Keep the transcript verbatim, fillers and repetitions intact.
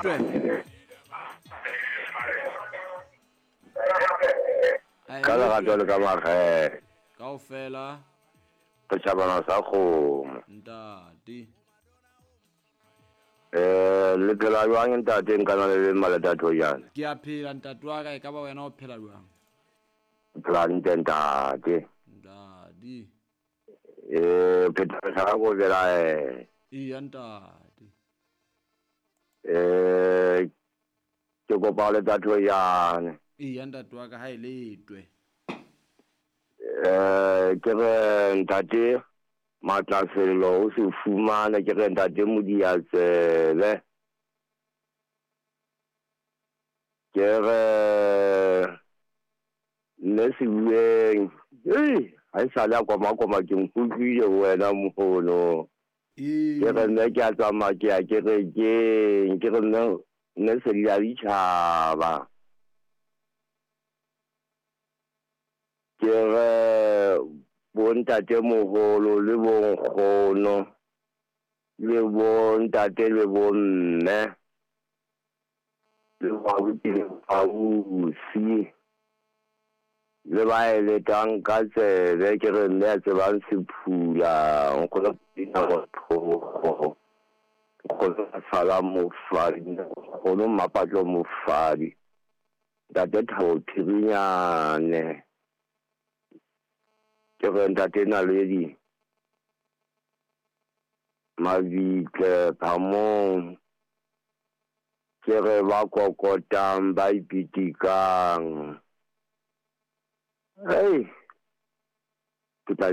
Letwe. Ka lerato le ka makgethe. Kaofela. Re tjhabana sa kgomo. Ntate. Eh, le phela jwang ntate nkana le le maleta jana? Ke a phela ntate wa ka, e ka ba wena o phela jwang? Phela ntate ntate. Ntate. Eh, phela sa go bela eh. Iya ntate. Eh, ke kopa le tatho yana. Iya ntate wa ka ha e letwe. Eh, ke re ntate Matlasello o se fumane, ke re ntate Modiatsebe. Ke re mme Sebueng, eh, ha e sale a koma-koma ke nkutlwile ho wena mohono. Ke re mme ke a tsamaya ke ya kerekeng, ke re mme mme sedi la ditjhaba. Ke re bontate moholo le bonkgono le bontate le bomme le baruti le bausi le ba eletang ka tsebe, ke re mme a tsebang sephula nkgono dinako nkgono sala mofadi nkgono Mmapatlo mofadi ntate Thabo Phirinyane. Ke re ntate Naledi Mabitle Phamong, ke re ba kokotang ba ipitikang. Hey, ke tla